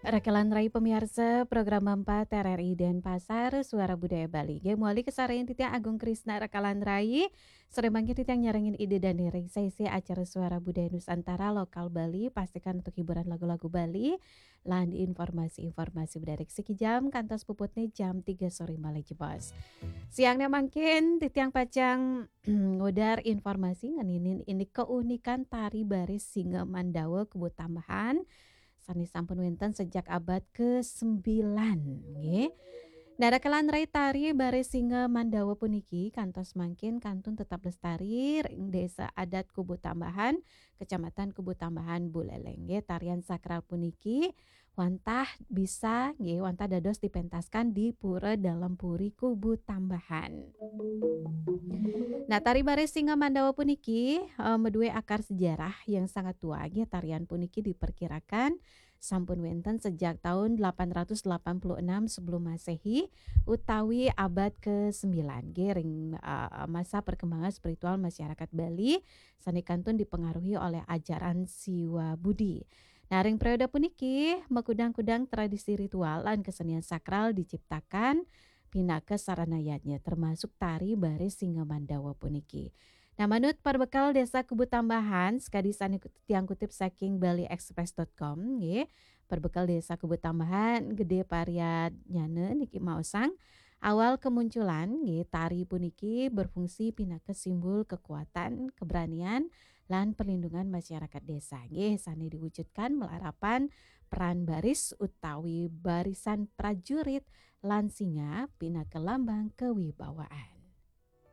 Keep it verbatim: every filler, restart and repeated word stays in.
Rakalan rai pamiarsa program empat R R I Denpasar, Suara Budaya Bali. Nggih, mawali kasarengin titiang Agung Krisna rakalan rai. Sareng mangkin titiang nyarengin Ida dané ring sesi acara Suara Budaya Nusantara Lokal Bali, pastikan untuk hiburan lagu-lagu Bali, lan informasi-informasi menarik siki jam, kantos puputné jam tiga soré malih jebos. Siangné mangkin titiang pacang ngudar informasi ngeninin indik keunikan tari baris Singa Mandawa Kubu Tambahan, sané sampun wénten sejak abad kesembilan, nggih. Nah, rakalan rai, tari baris Singa Mandawa puniki kantos mangkin kantun tetap lestari ring Désa Adat Kubu Tambahan, Kecamatan Kubu Tambahan, Buleleng, nggih. Tarian sakral puniki wantah bisa, nggih, wantah dados dipentaskan di Pura Dalem Puri Kubu Tambahan. Nah, tari baris Singa Mandawa puniki, eh, madué akar sejarah yang sangat tua, nggih. Tarian puniki diperkirakan sampun wénten sejak tahun delapan ratus delapan puluh enam sebelum Masehi utawi abad kesembilan, nggih, ring, eh, masa perkembangan spiritual masyarakat Bali sané kantun dipengaruhi oleh ajaran Siwa Budi. Nah, ring periode puniki, makudang-kudang tradisi ritual lan kesenian sakral diciptakan pinaka sarana yadnya, termasuk tari baris Singa Mandawa puniki. Nah, manut perbekel Désa Kubu Tambahan, sakadi sané kut-, tiang kutip saking bali express dot com, nggih. Perbekel Désa Kubu Tambahan, Gedé Pariatnyana niki maosang, awal kemunculan, nggih, tari puniki berfungsi pinaka simbol kekuatan, keberanian, lan perlindungan masyarakat désa, nggih, sané diwujudkan malarapan peran baris utawi barisan prajurit lan singa pinaka lambang kewibawaan.